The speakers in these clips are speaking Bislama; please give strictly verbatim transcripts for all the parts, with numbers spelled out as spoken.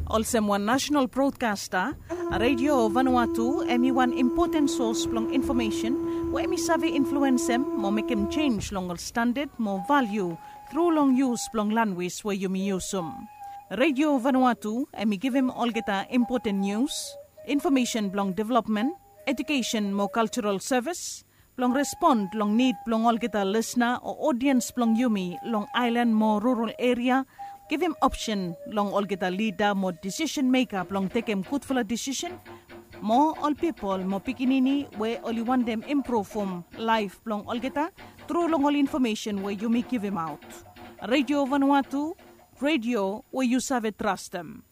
Olsem wan nasenal brodkasta, Radio Vanuatu hem i wan impoten sos blong infomesen we hem i save influensem mo mekem jenj long ol standad mo valiu tru long yus blong lanwis we yumi yusum. Radio Vanuatu hem i givim olgeta impoten nius, infomesen blong developmen, ejukesen mo kaljaral sevis, blong respon long nid blong olgeta lisna o odiens blong yumi long aelan mo rural eria, givim opsen long olgeta lida mo disisen meka blong tekem gudfala disisen, mo ol pipol mo pikinini we oli wantem impruvum laef blong olgeta tru long ol infomesen we yumi givimaot. Radio Vanuatu, radio we yu save trastem.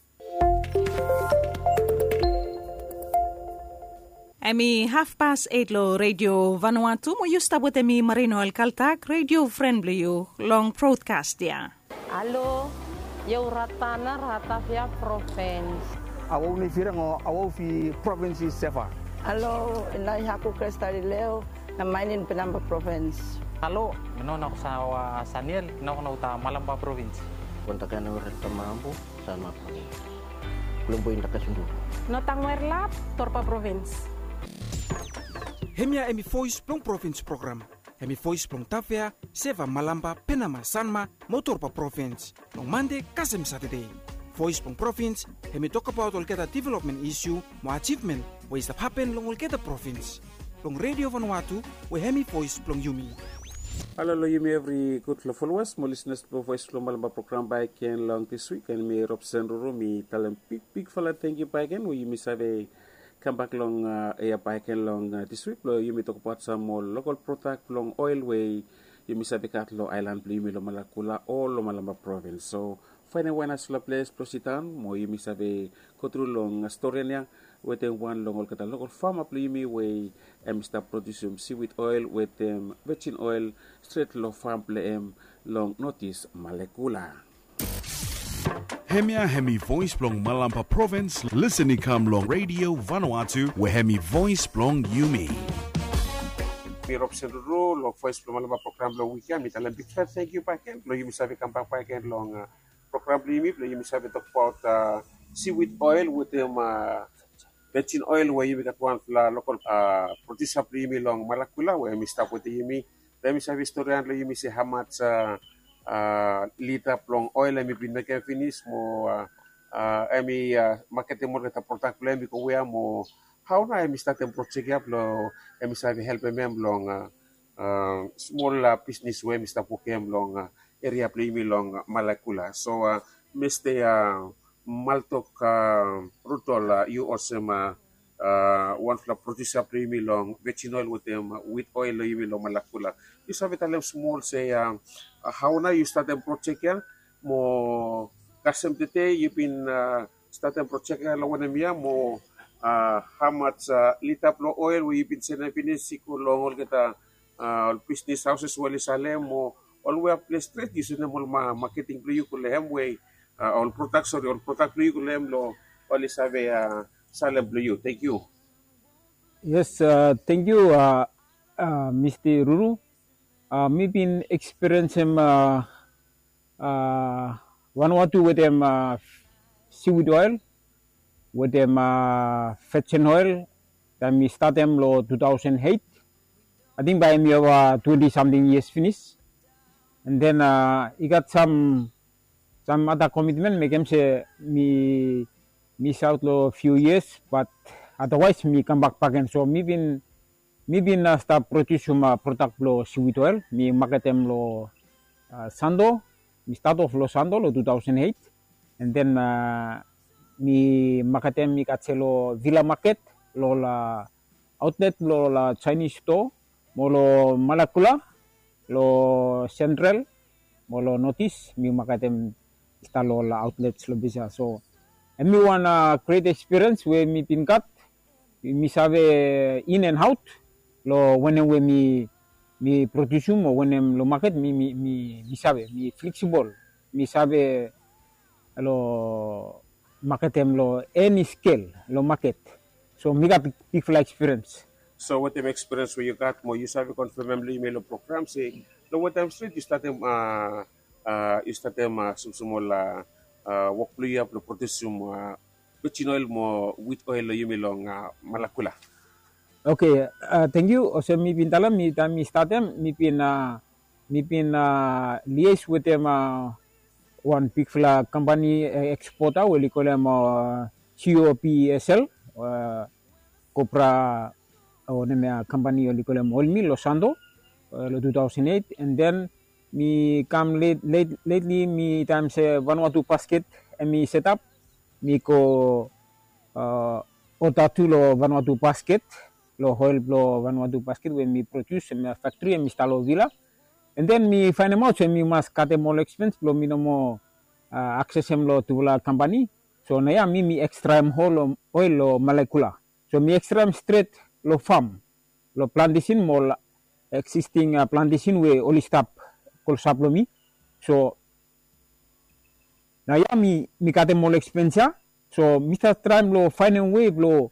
Hem i hafpas eit long Radio Vanuatu mo yu stap wetem mi Marino Alkaltak, radio fren blong yu long brodkast ya. Halo, yu Ratana Ratavia provens. Awau ni firang o awau fi provens i seva. Halo, inai haku Kristalileo na mainin Penamba provens. Halo, mi no nok sawa Saniel, nok no uta Malamba provens. Kontakena ure tamambu. Salma Province. Kulombo inda kasundu. Notang Werlap, Torpa Province. Hemia hemi Voes blong Provins program. Hemi voes blong Tafea, Seva, Malamba, Penama, Sanma mo Torpa Provins. Long Mande kasem Satade. Voes blong Provins hemi tokbaot olgeta developmen isu mo ajivmen we i stap hapen long olgeta provins. Long Radio Vanuatu we hemi voes blong yumi. Halo long yumi evri gudfala folowas mo lisnas blong Voes blong Malamba program bakegen long dis wik, and mi Robson Ruru mi talem bigbigfala tangkiu bakegen we yumi save kambak long eya bakegen long dis wik blong yumi tokbaot sam moa lokal prodak blong oel we yumi save gat long aelan blong yumi long Malakula o long Malamba provins. So faenem wan nasfala ples blong sidaon mo yumi save gotru long storian ya wetem wan long olgeta lokal fama blong yumi we hem i stap prodiusim siwid oel wetem vejin oel stret long fam blong hem long notis Malekula. Hemia hemi voes blong Malamba provins, lisen i kam long Radio Vanuatu we hemi voes blong yumi. Mi Robson Ruru long Voes blong Malamba program blong wik ya mi talem bigfala tangkiu bakegen blong yumi save kambak bakegen long program blong yumi blong yumi save tokbaot siwid oel wetem vejin oel we yumi gat wanfala lokal prodiusa blong yumi long Malakula we hem i stap wetem yumi. Blong hem i save storian long yumi se hamaj lita blong oel hem i bin mekem finis mo hem i maketem olgeta prodak blong hem i go wea mo hao nao hem i statem projek ya blong hem i save helpem hem long smol bisnis we hem i stap wokem long eria blong yumi long Malakula. So Mista Maltok Rudol, yu olsem wanfala prodiusa blong yumi long vejin oel wetem wit oel long yumi long Malakula, yu save talem smol se hao nao yu statem projek ya mo kasem tede yu bin statem projek ya long wanem yia mo hamaj lita blong oel we yu bin sendem finis i go long olgeta ol bisnis haoses we oli salem mo olwea ples stret yu sendem ol maketing blong yu go long hem we ol prodak sori ol prodak blong yu go long hem long oli save salem blong yu. Tangkiu. Yes, tangkiu Mista Ruru. Mi bin ekspiriensem Vanuatu wetem siwid oel wetem vejin oel taem mi statem long tu taosen eit. Ating bae mi ova twenti samting yias finis. And then i gat sam sam ada komitmen mekem se mi misaot long fiu yias, bat adawaes mi kambak bakegen. So mi bin mi bin stap prodiusim prodak blong siwid oel, mi maketem long Santo. Mi stat of long Santo long tu taosen eit. And then mi maketem i gat se long Vila maket, long ol aotlet blong ol Chinese stoa mo long Malakula, long Sentral mo long Notis mi maketem i stap long ol aotlets long ples ya. So hemi wan gret ekspiriens we mi bin gat. Mi save in and aot long wanem we mi mi prodiusim o wanem long maket mi mi mi save mi fleksibol. Mi save long maketem long eni skel long maket. So mi gat bigfala ekspiriens. So wetem ekspiriens we yu gat mo yu save konfemem long yumi long program se long wantaem stret yu statem a yu statem a smosmol a wok blong yu ya blong produsim vejin oil mo wit oil long yumi long Malakula. Oke, thank you. Olsem mi bin talem, mi taem mi statem, mi bin mi bin lies wetem wan bigfala kampani ekspota we oli kolem C O P S L, Cobra, o nem ya kampani oli kolem oil mill long Santo long two thousand eight, and then mi kam lately mi taem se Vanuatu Basket hemi setap, mi go oda tu long Vanuatu Basket, long oil blong Vanuatu Basket we mi produs, hemi faktri hemi stap long Vila. And then mi faenemaot se mi mas katem ol ekspens blong mi no moa aksesem long tufala kampani. So naoia mi mi ekstraem oil long Malakula. So mi ekstraem stret long fam, long plantesin mo ol eksisting plantesin we oli stap klosap long mi. So naoia mi mi katem ol ekspens ya. So mi stap traem long faenem wei blong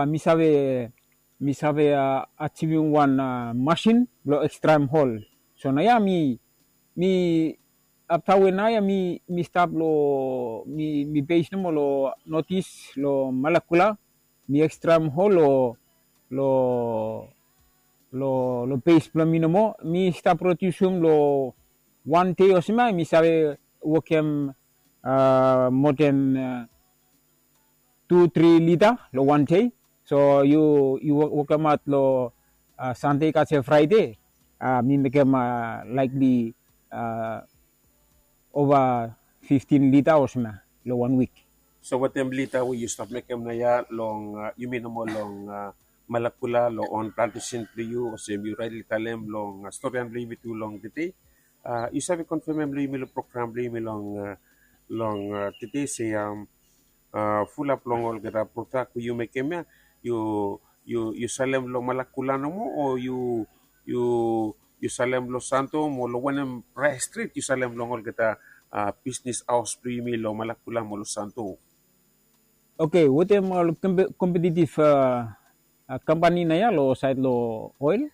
mi save mi save ajivim wan masin blong ekstraem oil. So naoia mi mi afta we naoia mi mi stap long mi mi beis nomo long notis long Malakula. Mi ekstraem oil long long long beis blong mi nomo. Mi stap prodiusim long wan dei olsem ya mi save wokem moa den tu tri lita long wan dei. So yu yu wokemaot long Sande i gat se Fraede, mi mekem likely ova fiftin lita olsem ya long wan wik. So wetem lita we yu stap mekem naoia long yumi nomo long Malakula long on plantesin blong yu, olsem yu raetli talem long storian blong yumi tu long tede, yu save konfemem long yumi long program blong yumi long long tede se fulap long olgeta prodak we yu mekem ya, yu yu yu salem long Malakula nomo o yu yu yu salem long Santo mo long wanem praes stret yu salem long olgeta bisnis haos blong yumi long Malakula mo long Santo? Oke, wetem ol kompetitiv kampani naoia long saed long oil,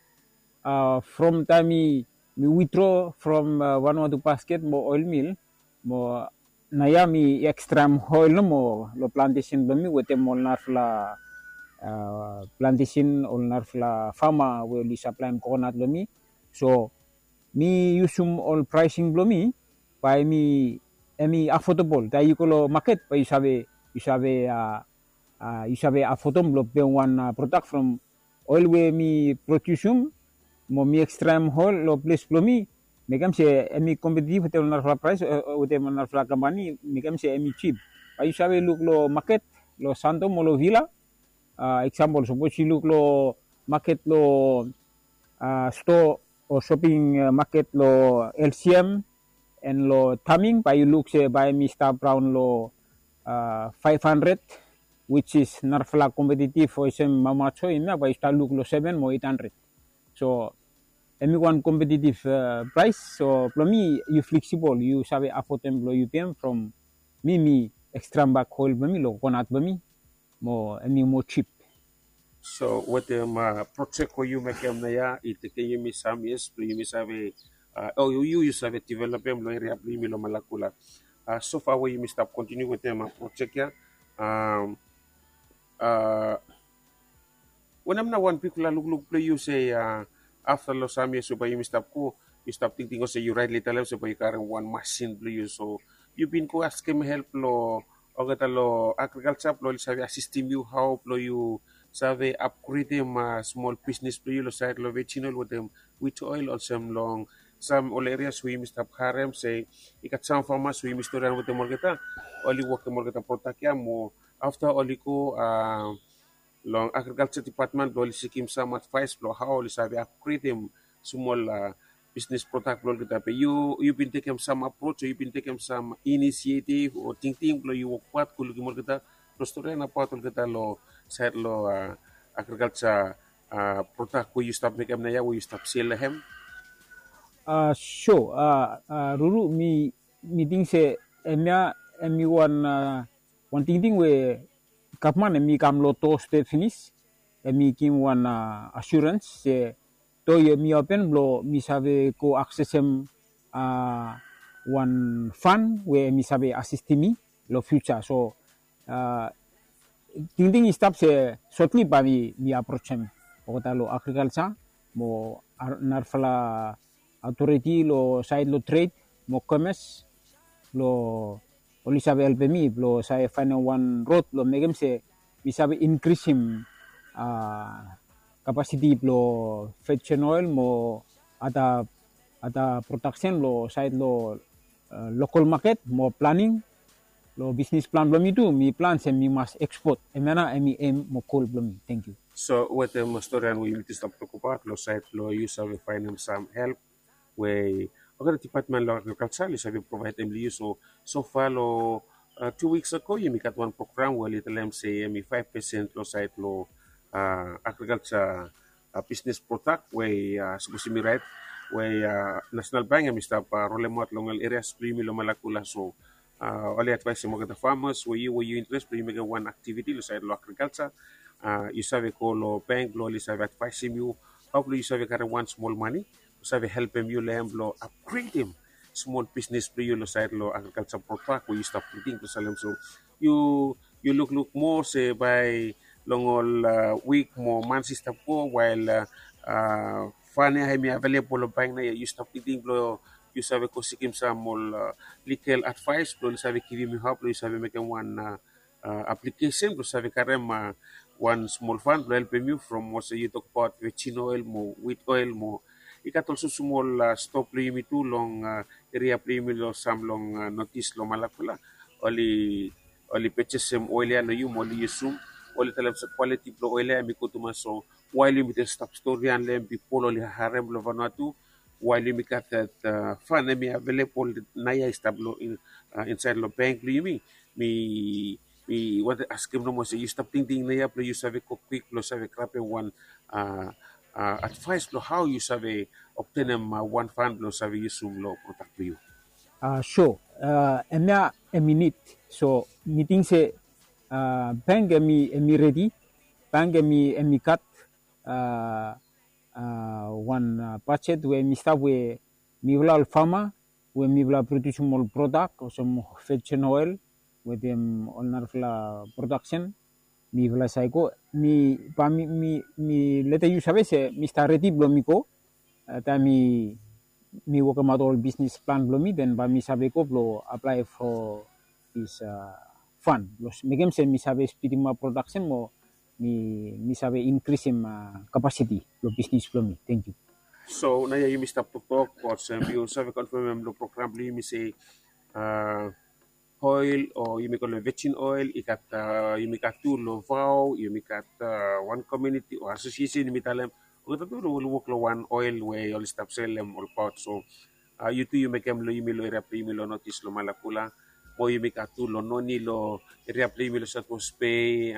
from taem mi mi witdro from Vanuatu Basket mo oil mill, mo naoia mi ekstraem oil nomo long plantesin blong mi wetem ol narafala plantesin, ol narafala fama we oli saplaem kokonat long mi. So mi yusum ol praesing blong mi bae hemi hemi afodabol. Taem yu go long maket bae yu save yu save yu save afodem blong pem wan prodak from oil we mi prodiusim mo mi ekstraem oil long ples blong mi, mekem se hemi kompetitiv wetem ol narafala praes wetem ol narafala kampani, mekem se hemi jip. Bae yu save luk long maket long Santo mo long Vila. Eksampol, sapos yu luk long maket long stoa o shoping maket long L C M and long Taming, bae yu luk se bae hemi stap raon long five hundred, which is narafala kompetitiv olsem mamajo, hemia bae yu stap luk long seven mo eight hundred. So hemi wan kompetitiv praes. So blong mi yu fleksibol, yu save afodem blong yu pem from mi mi ekstraem bak oil blong mi long kokonat blong mi mo hemi moa jip. So wetem projek we yu mekem naoia i tekem yumi sam yias blong yumi save o yu yu save developem long eria blong yumi long Malakula. Sofa we yumi stap kontiniu wetem projek ya, wanem nao wan bigfala lukluk blong yu se afta long sam yias we bae yumi stap go, yu stap tingting olsem yu raetli talem se bae yu karem wan masin blong yu. So yu bin go askem help long olgeta long agrikalja blong oli save asistim yu hao blong yu save apgredem smol bisnis blong yu long saed long vejin oil wetem wit oil olsem long sam ol erias we yumi stap harem se i gat sam famas we yumi storian wetem olgeta, oli wokem olgeta prodak ya mo afta oli go long agrikalja dipatmen blong oli sikim sam advaes blong hao oli save apgredem smol bisnis prodak blong olgeta. Be yu yu bin tekem sam aproj o yu bin tekem sam inisietiv o tingting blong yu wokbaot go lukim olgeta blong storian abaot olgeta long saed long agrikalja prodak we yu stap mekem naoia we yu stap sel long hem? So Ruru, mi mi ting se hemia hemi wan wan tingting we gavman hemi kam long do stret finis. Hemi givim wan asurens se do hemi open blong mi save go aksesem wan fan we hemi save asistim mi long fiuja. So tingting i stap se sotli bae mi aprojem olgeta long agrikalja mo narafala autoriti long saed long tred mo komes blong oli save helpem mi blong save faenem wan rod blong mekem se mi save inkrisim kapasiti blong vejen oel mo ada prodaksen long saed long lokol maket mo planing long bisnis plan blong mi tu. Mi plan se mi mas ekspot. Hemia nao hemi em mo gol blong mi. Tangkiu. So wetem storian we yumi tu stap tokbaot long saed blong yu save faenem sam help we olgeta dipatmen long agrikalja oli save provaedem long yu. So sofa long tu wiks ago yumi gat wan program we oli talem se hemi faef pesen long saed long agrikalja bisnis prodak we sapos yumi raet we Nasenal Bank hemi stap rolemaot long ol erias blong yumi long Malakula. So oli advaesem olgeta famas we yu we yu interes blong yu mekem wan aktiviti long saed long agrikalja, yu save go long bank blong oli save advaesem yu hao blong yu save karem wan smol mane blong save helpem yu long hem blong apgredem smol bisnis blong yu long saed long agrikalja prodak we yu stap tingting blong salem. So yu yu lukluk moa se bae long ol wik mo mans i stap go wael fan ya hemi avelebol long bank nao ya yu stap tingting blong yu save go sikim sam ol ligal advaes blong oli save givim yu hao blong yu save mekem wan aplikesen blong save karem wan smol fan blong helpem yu from olsem yu tokbaot vejin oel mo wit oel mo i gat olsem smol stoa blong yumi tu long eria blong yumi long sam long notis long Malakula. Oli oli pejesem oel ya long yu mo oli yusum. Oli talem se kwaliti blong oel ya hemi gud tumas. So wael yumi stap storian long hem, pipol oli harem long Vanuatu wael yumi gat dat fan hemi avelebol nao ya i stap long insaed long bank blong yumi. Mi mi wantem askem nomo se yu stap tingting nao ya blong yu save go kwik blong save grabem wan advaes blong hao yu save obtenem wan fan blong save yusum long prodak blong yu. So hemia hemi nid. So mi ting se bank hemi redi. Bank hemi gat wan bajet we hemi stap we mifala ol fama we mifala produsim ol prodak olsem vejin oel wetem ol narafala prodaksen mifala save go. Mi bae mi mi letem yu save se mi stap redi blong mi go taem mi mi wokemaot ol bisnis plan blong mi, den bae mi save go blong aplae fo dis fan blong mekem se mi save spidimap prodaksen mo mi mi save inkrisim kapasiti blong bisnis blong mi. Tangkiu. So nao ya yumi stap toktok olsem yu save konfemem long program blong yumi se oel o yumi kolem vejin oel i gat yumi gat tu long vao yumi gat wan komuniti o asosiesen yumi talem olgeta tu oli wok long wan oel we oli stap selem olbaot. So yu tu yu mekem long yumi long eria blong yumi long notis long Malakula mo yumi gat tu long noni long eria blong yumi long Sautwes Bei.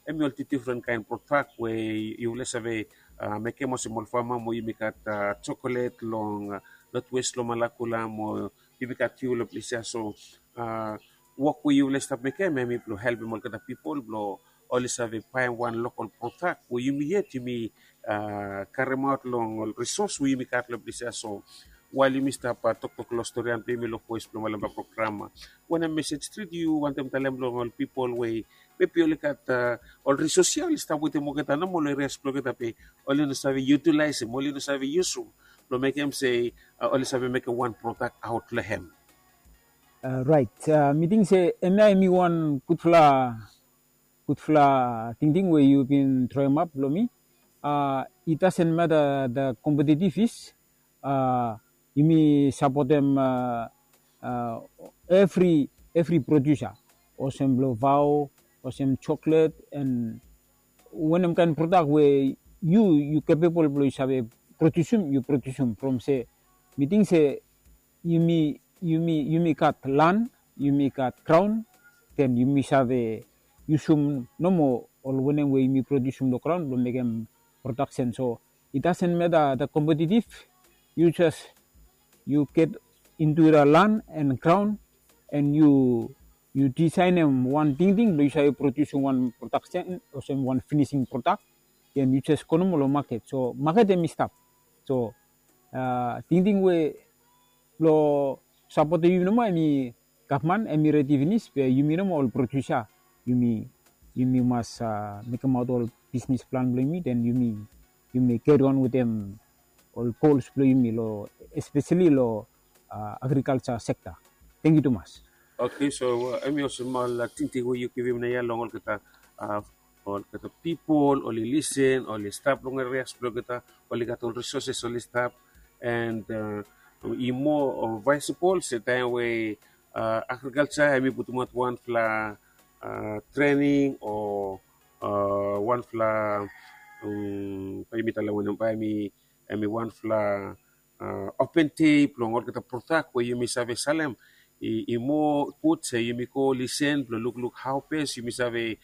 Hemi ol tu difren kaen prodak we yufala save mekem olsem ol fama mo yumi gat jokolet long notwes long Malakula mo yumi gat fiu long ples ya. So wok we yufala i stap mekem hemi blong helpem olgeta pipol blong oli save baem wan lokol prodak we yumi yet yumi karemaot long ol risos we yumi gat long ples ya. So wael yumi stap toktok long storian blong yumi long Voes blong Malemba program, wanem mesej stret yu wantem talem long ol pipol we mebi oli gat ol risos ya oli stap wetem olgeta nomo long erias blong olgeta be oli no save yutilaesem, oli no save yusum blong mekem se oli save mekem wan prodak aot long hem? Raet. Mi ting se hemia hemi wan gudfala gudfala tingting we yu bin droemap long mi. It doesn't matter the competitive is yumi sapotem evri evri produsa olsem blong vao olsem joklet and wanem kaen prodak we yu yu kepebol blong yu save produsim yu produsim from se mi ting se yumi yumi yumi gat lan yumi gat graon den yumi save yusum nomo ol wanem we yumi produsim long graon blong mekem prodaksen. So it doesn't matter the competitive, you just you get into the land and ground and you you designem wan tingting blong yu save produsim wan production olsem wan finishing product, then you just go nomo long market. So market hemi stap. So tingting we blong sapotem yumi nomo, hemi gavman hemi redi finis, be yumi nomo ol produsa, yumi yumi mas mekemaot ol bisnis plan blong yumi, den yumi yumi kerion wetem ol gols blong yumi lo, espeseli lo agrikalsa sekta. Tangkiu tumas. Oke, so hemi olsem ol tingting we yu givim naoia long olgeta, olgeta pipol oli lisen, oli stap long erias blong olgeta, oli gat ol risoses oli stap, and i moa vaesibol se taem we agrikalsa hemi putumaot wanfala trening o wanfala, bae yumi talem wanem, bae hemi wanfala open dei blong olgeta prodak we yumi save salem. I moa gud se yumi go lisen blong lukluk hao bes yumi save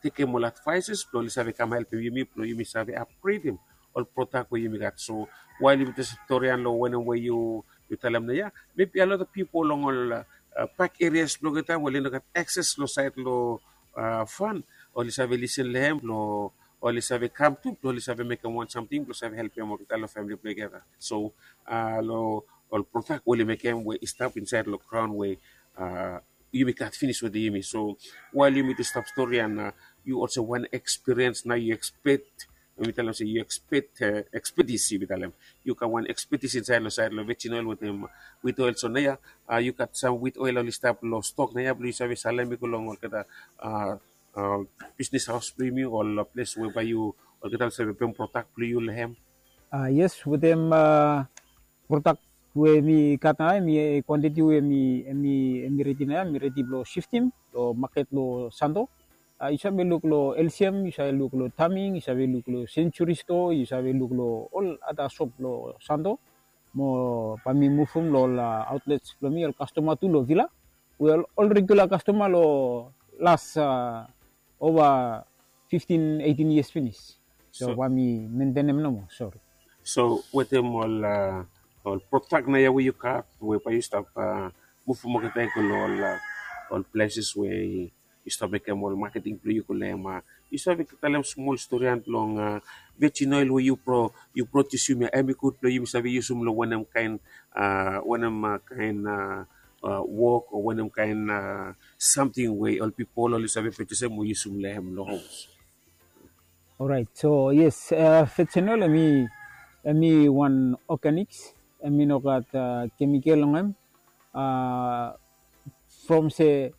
tekem ol advaeses blong oli save kam helpem yumi blong yumi save apgredem ol prodak we yumi gat. So wael yumi jes storian long wanem we yu talem naoia, mebi a lot of pipol long ol bak erias blong olgeta we oli no gat akses long saed long fan, oli save lisen long hem blong oli save kam tu blong oli save mekem wan samting blong save helpem olgeta long famili blong olgeta. So long ol prodak we oli mekem we i stap insaed long graon we yumi gat finis wetem yumi. So wael yumi tu stap storian, yu olsem wan ekspiriens nao yu ekspet, yumi talem se yu ekspet, ekspetis yumi talem. Yu gat wan ekspetis insaed long saed long vejin oel wetem wit oel. So naoia yu gat sam wit oel oli stap long stok naoia blong yu save salem i go long olgeta bisnis haos blong yumi, ol ples we bae yu, olgeta oli save pem prodak blong yu long hem. Yes, wetem prodak we mi gat naoia, mi kwantiti we mi, mi redi naoia, mi redi blong siftem long maket long Santo. Yu save luk long LCM, yu save luk long Taming, yu save luk long Century Store, yu save luk long ol ada sop long Santo. Mo bae mi muvum long ol outlets blong mi, ol kastoma tu long Vila, we ol regula kastoma long las ova fiftin, eitin yias finis. So bae mi mentenem nomo, sori. So wetem ol ol prodak naoia we yu gat we bae yu stap muvum olgeta i go long ol pleses we yu stap mekem ol maketing blong yu go long hem. Yu save talem smol storian blong vejin oel we yu produsim ia, hemi gud blong yumi save yusum long wanem kaen, wanem kaen wok o wanem kaen samting we ol pipol oli save produsim o yusum long hem long homs? Orait, so yes, vejin oel hemi wan organiks, hemi no gat kemikel long hem. From se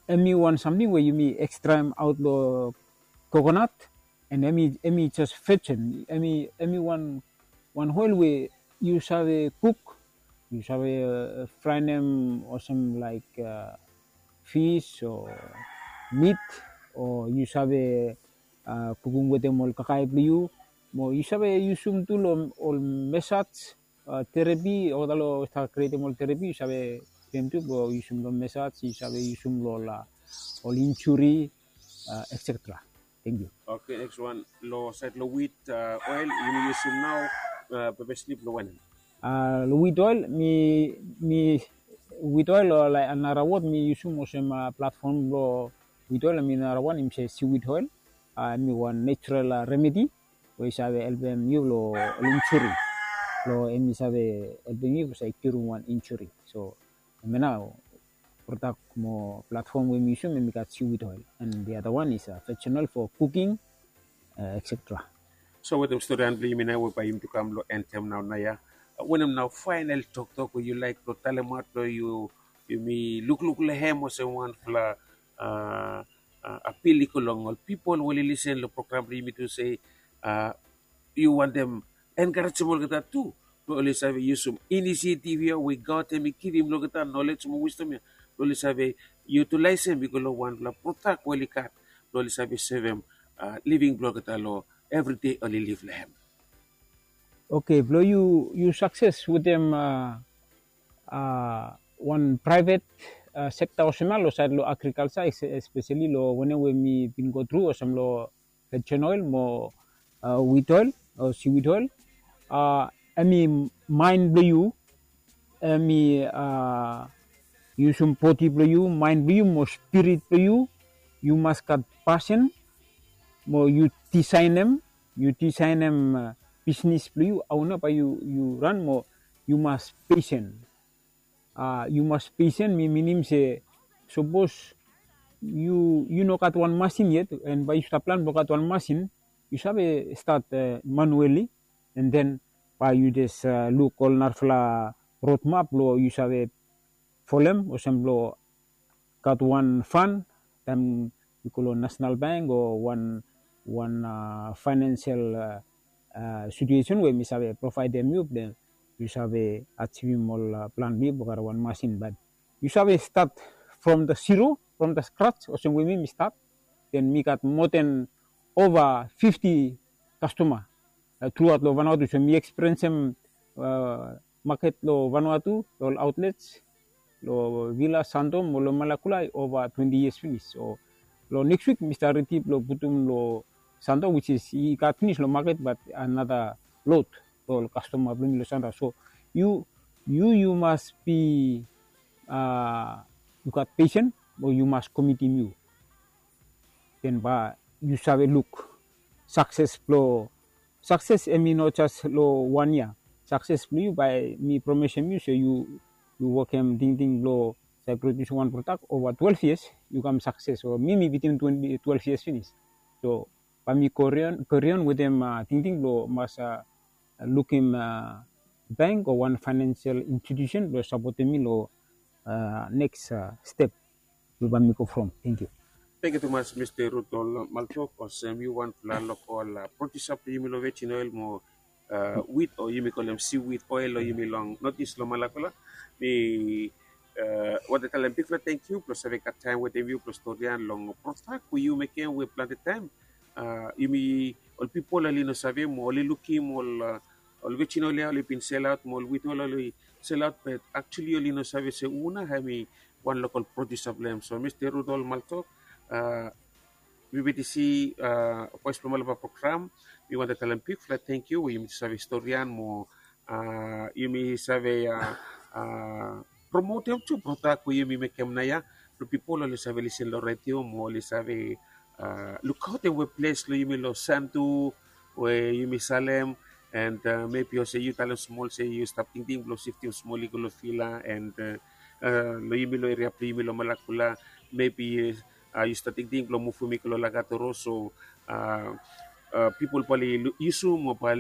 hemi wan samting we yumi ekstraem aot long kokonat, and hemi jes vejin, hemi wan wan oel we yu save kuk, yu save fraenem olsem laek fis o mit, o yu save kukum wetem ol kakae blong yu, mo yu save yusum tu long ol mesaj, terepi, olgeta long stap krietem ol terepi yu save pem tu blong yusum long mesaj, yu save yusum long ol injuri, etsetera. Tangkiu. Oke, neks wan, long saed long wit oel yumi yusum nao, pepe slip long wanem? Long wit oel, mi, mi wit oel, o laek nara wod mi yusum olsem platfom blong wit oel, hemi nara wan hemi se siwit oel. Hemi wan nejerol remedi we i save helpem yu long ol injuri. Long hemi save helpem yu blong save kiurim wan injuri. So hemia nao prodak mo platfom we mi yusum, hemi gat siwit oel, and the other one is vejin oel for cooking, etsetera. So wetem storian blong yumi nao we bae yumi tu kam long en taem nao naoia, wanem nao faenol toktok we yu laek blong talemaot blong yu, yumi lukluk long hem olsem wanfala apil i go long ol pipol we oli lisen long program blong yumi tu se yu wantem enkarejem olgeta tu blong oli save yusum inisiativ ia we God hemi givim long olgeta, nolej mo wisdom ia, blong oli save yutalaesem i go long wanfala prodak we oli gat blong oli save sevem living blong olgeta long evri dei oli liv long hem. Oke, blong yu, yu sakses wetem wan praevet sekta olsem ia long saed long agrikalsa, espeseli long wanem we mi bin go tru olsem long vejin oel mo wit oel o siwit oel. Hemi maen blong yu, hemi yusum bodi blong yu, maen blong yu mo spirit blong yu. Yu mas gat pasen mo yu disaenem, yu disaenem bisnis blong yu, hao nao bae yu ran, mo yu mas pesen. Yu mas pesen, mi minim se sapos yu yu no gat wan masin yet, and bae yu stap plan blong gat wan masin, yu save stat manueli, and then bae yu jes luk ol narafala rod map blong yu save folem olsem blong gat wan fan, taem yu go long National Bank o wan wan financial situation we mi save provaedem yu, blong yu save ajivim ol plan blong yu blong gat wan masin. Bat yu save stat from the zero, from the scratch, olsem we mi mi stat, then mi gat more than over fifty customer throughout long Vanuatu. So mi experiencem market long Vanuatu, long ol outlets, long Vila, Santo mo long Malakula over twenty years finis. So long next week mi stap redi blong putum long Santo, which is i gat finis long market, but another load long ol customer blong mi long Santo. So yu yu yu mas be yu gat pesen, o yu mas komitim yu. Then bae yu save luk success blong success, hemi no jes long wan yia. Success blong yu, bae mi promesem yu se yu yu wokem tingting blong save produce wan product over twelve years, yu kam success. O mi mi bitim twelve years finis. So bae mi karion karion wetem tingting blong mas lukim bank o wan financial institution blong sapotem mi long next step we bae mi go from. Thank you. Thank you tumas Mr. Rudol Maltok, olsem yu wanfala lokol producer blong yumi long Virgin Oil mo wheat, o yumi kolem seaweed oil long yumi long Northeast long Malakula. Mi wantem talem bigfala thank you blong save gat taem wetem yu blong storian long product we yu mekem we plante taem yumi ol pipol oli no save mo oli lukim ol ol Virgin Oil ya oli bin selaot mo ol wheat oil oli selaot, but actually oli no save se hu nao hemi wan lokol producer blong hem. So Mr. Rudol Maltok, wi B T C Voes blong Malampa program, mi wantem talem bigfala thank you we yumi save storian mo yumi save promotem tu product we yumi mekem naoia blong pipol oli save lisin long redio mo oli save lukaotem we ples blong yumi long Santo we yumi salem, and maybe olsem yu talem smol se yu stap tingting blong siftim smol i go long Vila, and long yumi long eria blong yumi long Malakula, maybe yu stap tingting blong muvum i go long Lakatoro. So pipol bae oli yusum o bae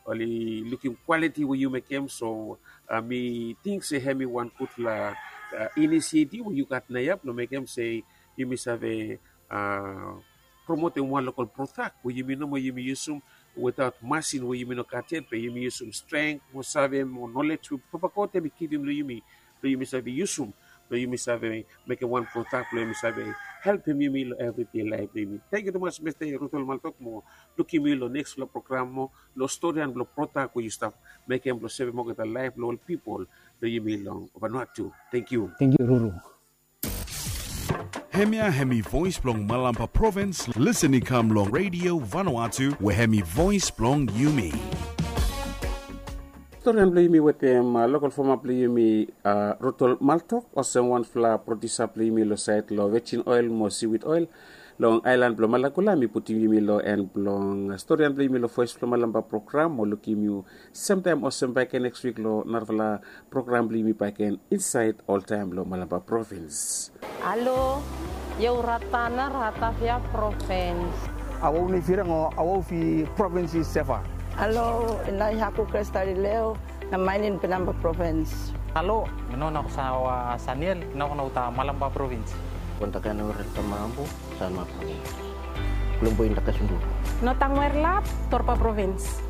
oli lukim kwaliti we yu mekem. So mi ting se hemi wan gudfala inisiativ we yu gat naoia blong mekem se yumi save promotem wan lokol product we yumi nomo yumi yusum wetaot masin we yumi no gat yet, be yumi yusum strength mo save mo knowledge we Papa God hemi givim long yumi blong yumi save yusum blong yumi save mekem wan product blong yumi save helpem yumi long everyday laef blong yumi. Thank you tumas Mr. Rudol Maltok, mo lukim yu long nextfala program mo long storian blong product we yu stap mekem blong sevem olgeta laef blong ol pipol blong yumi long Vanuatu. Thank you. Thank you Ruru. Hemia hemi Voes blong Malampa Provins, lisin i kam long Radio Vanuatu we hemi voes blong yumi. Storian blong yumi wetem lokol fama blong yumi Rudol Maltok, olsem wanfala producer blong yumi long saed long Virgin Oil mo Seaweed Oil long aelan blong Malakula. Mi putum yumi long en blong storian blong yumi long Voes blong Malampa program, mo lukim yu semtaem olsem bakegen neks wik long narafala program blong yumi bakegen insaed oltaem long Malampa provins. Alo, io Ratana, Ratavia provins. Awau nei firang o awau fi provins i Seva. Alo, inai haku Kresta Lileo, na mainin Penamba provins. Alo, no na sawa Saniel, no na uta Malampa provins. Kontakan ora tamabu. Sanma provins. Kulumbu inda kasundu. Notang Werlap, Torpa provins.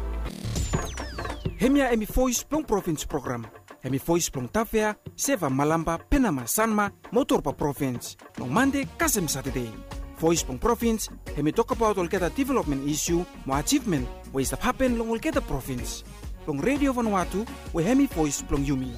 Hemia hemi Voes blong Provins program. Hemi Voes blong Tavea, Seva, Malampa, Penama, Sanma mo Torpa provins, long Mande kasem Satade. Voes blong Provins hemi tokbaot olgeta developmen isiu mo ajivmen we i stap hapen long olgeta provins, long Redio Vanuatu we hemi voes blong yumi.